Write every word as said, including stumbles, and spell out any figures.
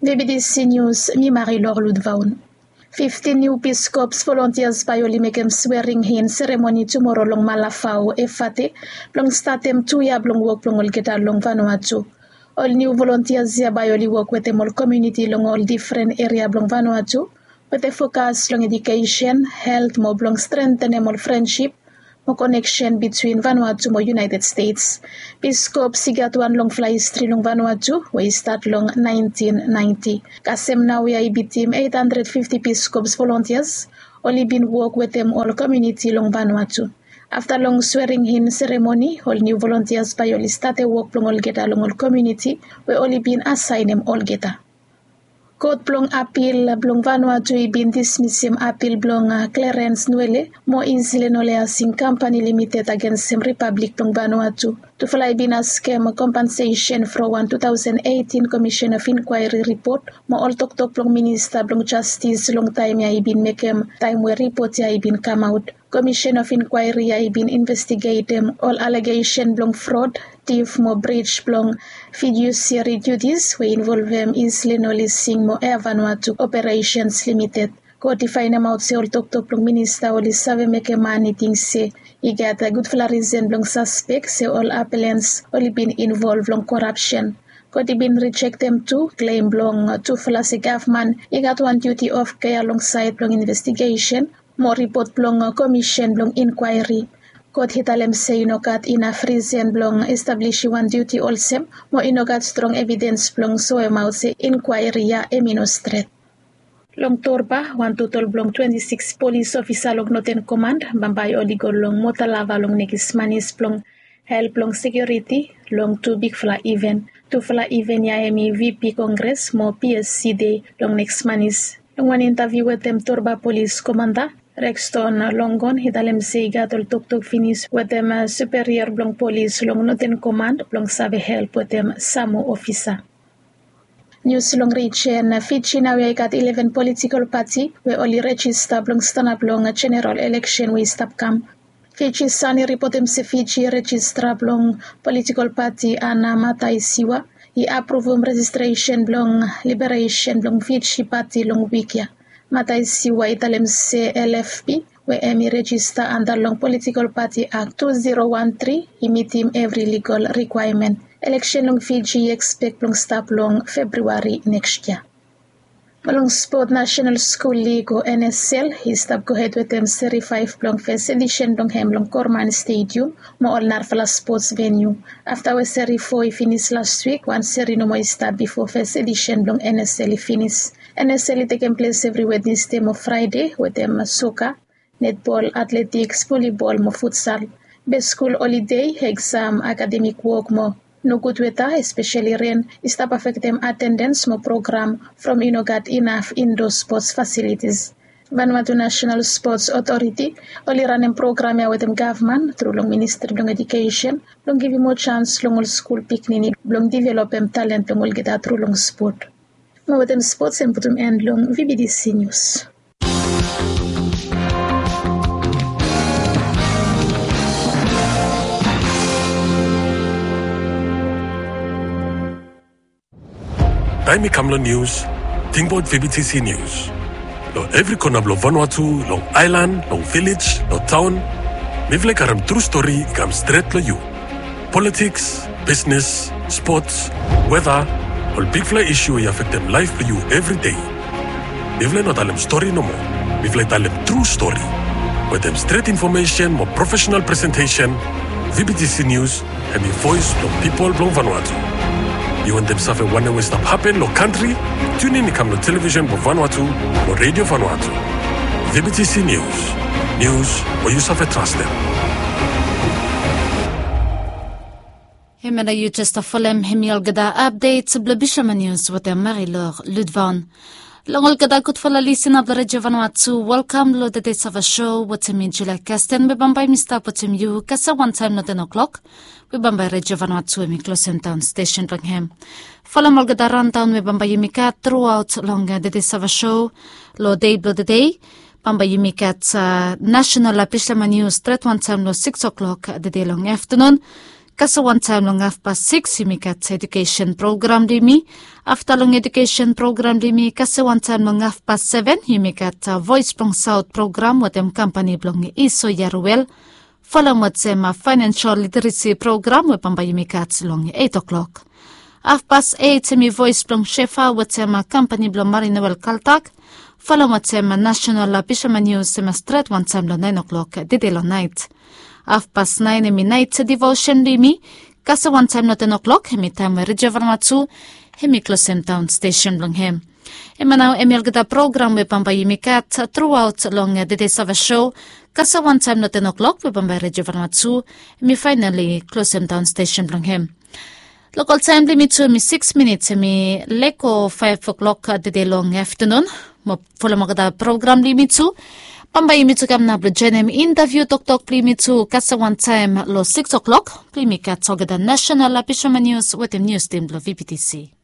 Vbdc News, mi Marilor Ludvaun. Fiftin niu Peace Corps volontias bae oli mekem swering in seremoni tumoro long Malafao, Efate, blong statem tu yia blong wok blong olgeta long Vanuatu. Ol niu volontias ya bae oli wok wetem ol komuniti long ol difren eria blong Vanuatu, wetem fokas long edukesen, helt mo blong strentenem ol frensip mo koneksen bitwin Vanuatu mo United States. Peace Corps i gat wan longfala histri long Vanuatu we i stat long naentin naenti. Kasem naoia i bitim eit handred fifti Peace Corps volontias oli bin wok wetem ol komuniti long Vanuatu. Afta long swering in seremoni, ol niu volontias bae oli stap wok blong olgeta long ol komuniti we oli bin asaenem olgeta. Kot blong apil blong Vanuatu i bin dismisim apil blong Clarence Nwele mo Islin Oleasing Kampani Limited agensem Ripablik blong Vanuatu. Tufala i bin askem kompensesen from wan tu taosen eitin Komisen of Inkwaeri ripot mo ol toktok blong Minista blong Jastis long taem ya i bin mekem taem we ripot ya i bin kamaot. Komisen of Inkwaeri ya i bin investigetem ol alegesen blong frod, tif mo brij blong fidusiari dutis we i involvem Islin Oleasing mo Air Vanuatu Operesens Limited. Kot i faenemaot se ol toktok blong minista oli save mekem man i ting se i gat gudfala risen blong saspek se ol apelens oli bin involv long korapsen. Kot i bin rijektem tu klem blong tufala se gavman i gat wan duti of kea long saed blong investigesen mo ripot blong komisen blong inkwaeri. Kot i talem se i no gat inaf risen blong establisim wan duti olsem mo i no gat strong evidens blong soemaot se inkwaeri ya hem i no stret. Long Torba, wan total blong twenti sikis polis ofisa long Noten Komand bambae oli go long Motalava long nekis manis blong help long sekiuriti long tu bigfala iven. Tufala iven ya hem i VP Kongres mo PSC Dei long nekis manis. Long wan intaviu wetem Torba Polis Komanda, Rexton Longon i talem se i gat ol toktok finis wetem superior blong polis long Noten Komand blong save help wetem sam moa ofisa. Nius long rijen. Fiji naoia i gat ileven politikol pati we oli rejista blong stanap long jeneral eleksen we i stap kam. Fiji Sun i ripotem se Fiji rejistra blong politikol pati Ana Mataisiwa i apruvum rejistresen blong liberesen blong Fiji Pati long wik ya. Mataisiwa i talem se LFP we hem i rejista anda long politikol pati Ak tu zero wan tri i mitim evri ligol rikwaemen. Eleksen long Fiji i ekspek blong stap long Febriwari neks yia. Mo long spot, Nasenal Skul Lig o NSL i stap gohed wetem seri faef blong fes edisen blong hem long Korman Stadium mo ol narafala spots veniu. Afta we seri fo i finis las wik, wan seri nomo i stap bifo fes edisen blong NSL i finis. NSL i tekem ples evri Wednesde mo Fraede wetem soka, netbol, atletiks, volibol mo futsal. Be skul olide, eksam, akademik wok mo nogud weta, espeseli ren, i stap afektem atendens mo program from i no gat inaf indo spots fasilitis. Vanuatu Nasenal Spots Otoriti oli ranem program ya wetem gavman tru long Ministri blong Edukesen blong givim moa jans long ol skul pikinini blong developem talent blong olgeta tru long spot. Mo wetem spots hem putum en long VBTC Nius. Taem i kam long nius, tingbaot VBTC Nius. Long evri kona blong Vanuatu, long aelan, long vilej, long taon, mifala i karem tru stori i kam stret long yu. Politiks, bisnes, spots, weta, ol bigfala isu we i afektem laef blong yu evri dei. Mifala i no talem stori nomo. Mifala i talem tru stori. Wetem stret infomesen mo profesenal presentesen, VBTC Nius hem i voes blong pipol blong Vanuatu. Yu wantem save wanem we i stap hapen long kantri? Tiunin i kam long televisen blong Vanuatu mo Redio Vanuatu. VBTC Nius. Nius we yu save trastem. Hemia nao yu jes stap folem, hemi olgeta apdet blong Bishaman Nius wetem Marilor Ludvaun. Long olgeta gudfala lisena blong Redio Vanuatu, welkam long Tede Sava Show wetem mi, Julia Kasten, we bambae mi stap wetem yu kasem wantaem long ten o'clock, we bambae Redio Vanuatu hemi klosem daon stesen blong hem. Folem olgeta raondaon we bambae yumi gat truaot long, uh, Tede Sava Show long dei blong tede. Bambae yumi gat, uh, nasenal, uh, Bishaman Nius stret wantaem long sikis o'clock, uh, tede long aftenun. Kasem wantaem long hafpas sikis yumi gat ejukesen program blong yumi. Afta long ejukesen program blong yumi kasem wantaem long hafpas seven yumi gat voes blong saot program wetem kampani blong iso yaruel. Folem wetem faenensial literesi program we bambae yumi gat long eit o'klok. Hafpas eit hemi voes blong sefa wetem kampani blong marinoel kaltak. Folem wetem nasenal bisoman nius hemi stret wantaem long naen o'klok dede long naet. Hafpas naen hemi naet divosen blong yumi. Kasem wantaem long ten o'klok hemi taem we redio valama tu hemi klosem daon stesen blong hem. Hemia nao hemi olgeta program we bambae yumi gat truaot long dede save sou. Kasem wantaem long ten o'klok we bambae redio valama tu hemi faenali klosem daon stesen blong hem. Lokal taem blong yumi tu hemi sikis minits hemi lego faef o'klok dede long aftanun. Mo folem olgeta program blong yumi tu. Bambae yumi tu kam nao blong joenem intaviu toktok blong yumi tu kasem wantaem long sikis o'klok. Blong yumi gat olgeta nasenal bisoman nius wetem nius tim blong vptc.